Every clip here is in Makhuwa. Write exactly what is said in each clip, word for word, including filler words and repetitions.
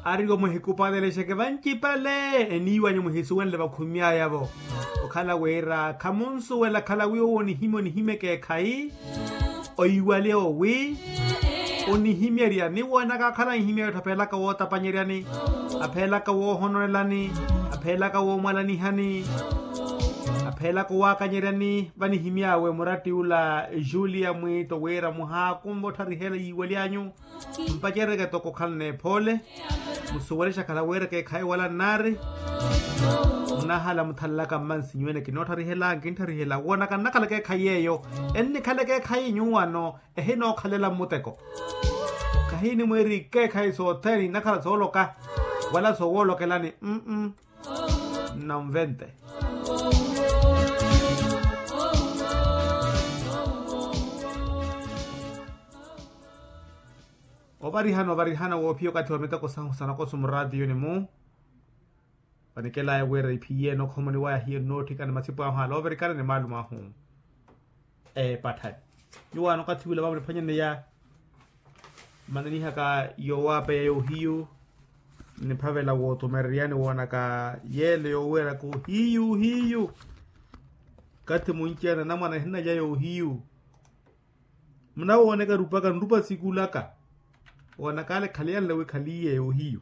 Ariwo muhikupanelexeke vancipale eniiwanyu muhisuwenle vakhumy'aya-vo. Okhala wira khamunsuwela khalawi owo onihimya onihimya ekeekhayi. Oiwale owi onihimyeryani woonaka akhala anhimya etthu aphelaka wootapanyeryani, aphelaka woohononelani, aphelaka woomwalanihani, aphelaka owaakanyeryani. Vanihimy'awe muratti ula julia mwiito wira muhaakunva ottharihela yiiwalyanyu. Mpacereke toko okhala n'ephoole. Musuwelexa khala wira ekeekhayi wala nnaari. Munahala muthalelaka mmansi nyuwene kinoottharihela nkinttharihela woonaka nnakhala ekeekhayi yeeyo. Ennikhala ekeekhayi nyuwano ehinookhalela mmuteko. Khahiinimweeri ekeekhayi sothene inakhala sooloka wala sowoolokelani. Nnanvente. Ovarihana ovarihana woophiya okathi wa miteko sahu sanakoso muraatiyuni-mu. Vanikelaya wira iphiyeene okhomoni waya hiyo nnootthikana masipu ahu aloovirikana ni maalumo ahu. Eepatthani nyuwaano okathi wila vamuniphwanyaneya. Mmananihaka yowaapeya yohiyu. Niphavela wootumereryani woonaka yeelo yoweeraka ohiyu ohiyu. Kathi munci-ene anamwane ahinalya yohiyu. Munawooneka erupaka nrupa sikulaka. Woonaka ale khaliyanle wi khaliye yohiyu.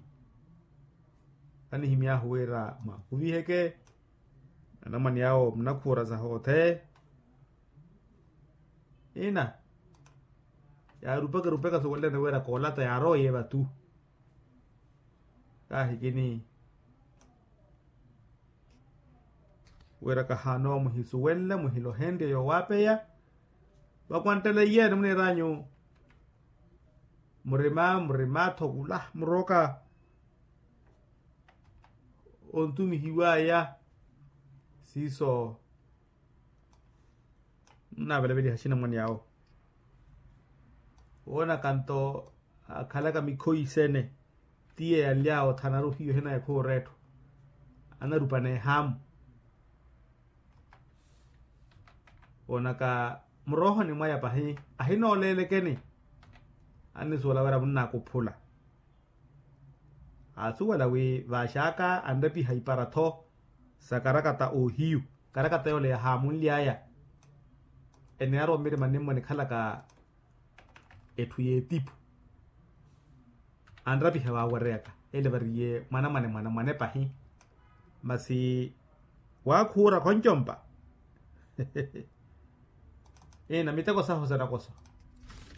Anihimy'ahu wira mwaakuviheke anamwane awo munakhuura sahoothene. Ina yaarupeke rupeke suwelelani wira koolata yaarowa yeevatu. Kaahikini wira kahaanowa muhisuwenle muhilohenrye yowaapeya. Vakwanttela iyeene muniir'anyu murima murima-tho kula muroka. Ontumihiw'aya siiso. Nnavelaveliha axinamwane awo woonaka nto akhalaka mikhoyi sene. Tiye yanly'awe othanaru hiyo hinaye khuura etthu anarupana ehaamu. Woonaka muroohoni mwaya pahi ahinooleelekeni. Annisuwela wira munnaakuphula aasuwela wi vaaxaka anrepiha ipara-tho sa karakata ohiyu. Karakata yoole yahaamunly'aya. Eniyarowa mmirima nimmo enikhalaka etthu y'etipu. Anrapiha vaawereyaka ele variye mwanamwane mwanamwane pahi. Masi waakhuura khoncompa. Ina miteko sahu sanakoso